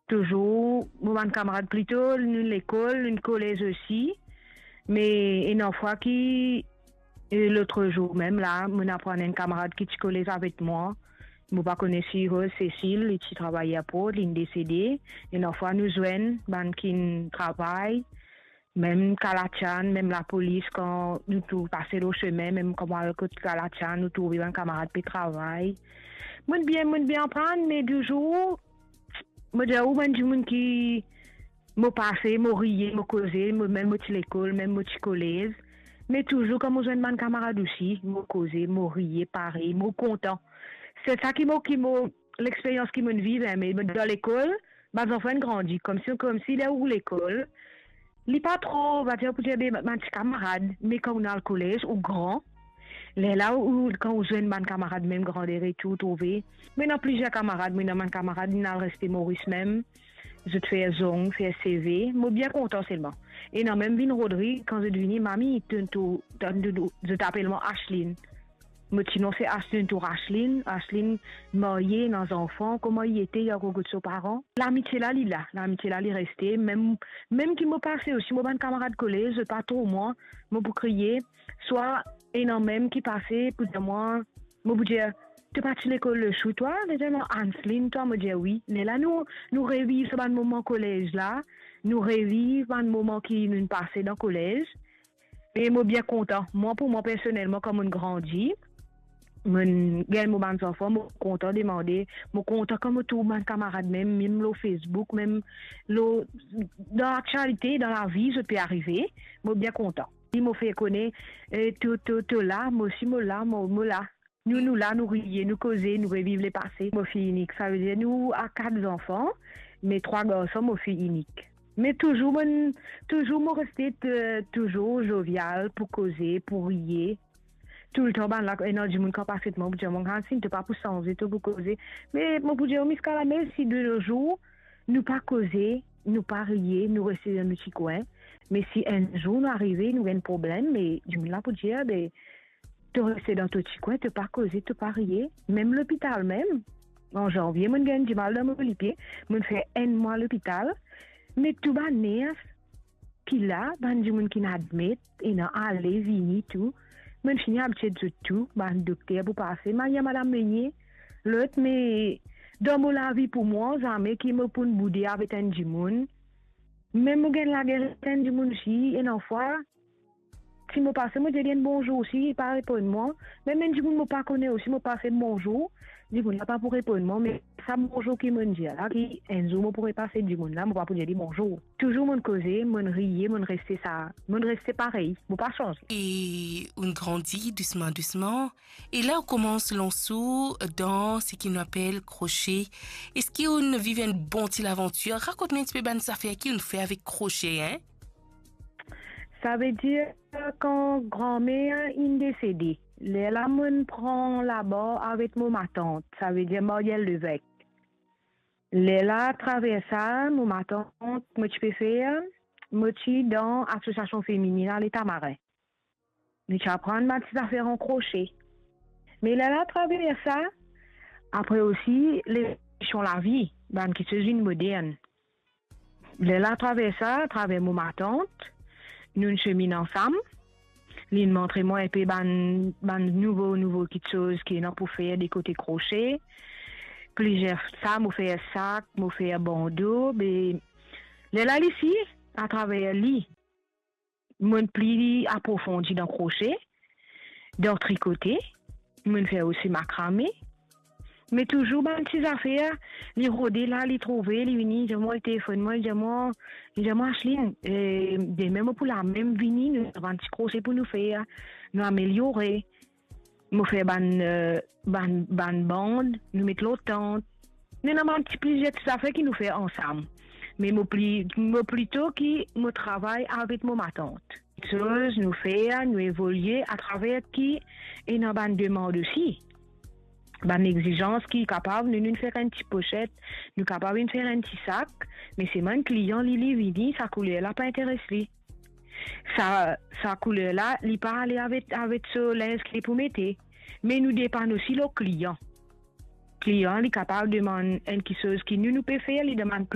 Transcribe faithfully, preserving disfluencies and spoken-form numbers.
Touzour, mo bann kamarad plito, nou lekol, nou kolez osi. Me ena fwa ki, e, lotzour mem la, mo aprann enn kamarad ki ti kolez avek mwa. Mo pa kone si Rose Cécile, li ti travay airport, linn desede. Ena fwa nou zwenn, bann ki travay, mem Kalatian, mem lapolis, kan nou tou pase lor sime, mem kan mo al kot Kalatian, nou trouve bann kamarad pe travay. Mo'nn bien, mo'nn bien aprann, me touzour, mo dir ou, bann dimoun ki mo pase, mo riye, mo koze, mo, mem mo ti lekol, mem mo ti kolez. Me touzour, kan mo zwenn bann kamarad osi, mo koze, mo riye parey, mo kontan. Se sa ki mo, ki mo, lexperyans ki mo'nn viv, en, me dan lekol, bann zanfan inn grandi, koumsi, koumsi ler ou lekol, li pa tro, va dir, pou dir, be, bann ti kamarad, me kan ou al kolez, ou gran, lerla ou, kan ou zwenn bann kamarad mem grander e tou, ou trouve. Mo ena plizier kamarad, mo ena bann kamarad, inn al reste Moris mem, zot fer zong, fer seve, mo bien kontan selman. Ena mem vinn Rodrig, kan zot vini, "Mami, to, to, to, to, to," zot apel mwa Ashlyn. Mo ti non se Ashlyn, to Ashlyn, Ashlyn marye, ena zanfan, kouma li ete, li ankor kot so paran. Lamitie la, li la, lamitie la, li reste. Mem, mem ki mo pase osi, mo bann kamarad kolez, zot pa trouv mwa, mo pou kriye. Swa ena mem ki pase pou dir mwa, mo pou dir, "To pa ti lekol lesour twa?" Li dir mwa, "Anslin, twa?" Mo dir, "Wi." Lerla nou, nou reviv sa bann moman kolez la, nou reviv bann moman ki nou pase dan kolez. E mo bien kontan. Mwa, pou mwa, personelman, kan mo'nn grandi, mo'nn gagn mo bann zanfan, mo kontan demande, mo kontan kan mo trouv bann kamarad mem, mem lor Facebook, mem lor, dan laktialite, dan lavi, zot pe arive, mo bien kontan. Si mo fer kone, e, to, to, to la, mo osi mo la, mo, mo la. Nou, nou la, nou riye, nou koze, nou reviv lepase. Mo fiy inik, savedir nou a kat zanfan, me trwa garson, mo fiy inik. Me touzour, mo'nn, touzour mo reste, e, touzour zovial pou koze, pou riye. Toultan bann la, ena dimoun kan pas kot mwa, pou dir mwa, "Anslin, to pa pou sanze, to pou koze." Me mo pou dir, ziska lamem, si de no zour, nou pa koze, nou pa riye, nou reste dan nou ti kwin. Me si enn zour nou arive, nou gagn problem, me dimoun la pou dir, "Be, to reste dan to ti kwin, to pa koze, to pa riye." Mem lopital mem, an zanvie, mo'nn gagn dimal dan mo lipie, mo'nn fer enn mwa lopital, me tou bann ners ki la, bann dimoun ki'nn admet, ena ale, vini, tou. Mo'nn fini abitie zot tou, bann dokter pou pase, Maria, Madam Meunier, lot, me dan mo lavi pou mwa, zame ki mo pou'nn boude avek enn dimoun. Mem mo gagn lager avek enn dimoun osi, ena fwa, si mo pase, mo dir li enn bonzour osi, li pa reponn mwa. Mem enn dimoun mo pa kone osi, mo pase bonzour, dimoun la pa pou reponn mwa, me sa bonzour ki mo'nn dir la, ki enn zour mo pou repase dimoun la, mo pa pou dir li bonzour. Touzour mo'nn koze, mo'nn riye, mo'nn reste sa, mo'nn reste parey, mo pa sanze. E ou'nn grandi dousman, dousman, e la ou koumans lans ou dan seki nou apel krosie. Eski ou'nn viv enn bon ti lavantir? Rakont nou enn tipe bann zafer ki ou'nn fer avek krosie, en? Savedir, kan granmer inn desede, lerla mo'nn pran labar avek mo matant, savedir Marielle Levesque. Lerla, atraver sa, mo matant, mo ti pe fer, mo ti dan asosiasion femininn a Letamarin. Nou ti aprann bann ti zafer an krosie. Me lerla, atraver sa, apre osi, levolision lavi, bann kiksoz vinn modern. Lerla, atraver sa, atraver mo matant, nou'nn seminn ansam. Li'nn montre mwa enpe bann, bann nouvo, nouvo kiksoz ki ena pou fer de kote krosie. Plizier sa, mo fer sak, mo fer bando, be lerla li si, atraver li, mo'nn pli aprofondi dan krosie, dan trikote, mo'nn fer osi makrame. Me touzour bann ti zafer, li rode la, li trouve, li vini, li dir mwa, li telefonn mwa, li dir mwa, li dir mwa, "Anslin, e, demin mo pou lamem vini, nou ena bann ti krosie pou nou fer, nou ameliore." Mo fer bann, e, bann, bann band, nou met lor tant. Nou ena bann ti plizier ti zafer ki nou fer ansam. Me mo pli, mo plito ki mo travay avek mo matant. Kiksoz nou fer, nou evolie atraver ki ena bann demann osi. Bann exizans ki kapav nou, nou fer enn ti poset, nou kapav inn fer enn ti sak, me se bann klian li, li vini, sa kouler la pa interes li. Sa, sa kouler la, li pa ale avek, avek so linz ki li pou mete. Me nou depann osi lor klian. Klian, li kapav demann enn kiksoz ki nou, nou pe fer, li demann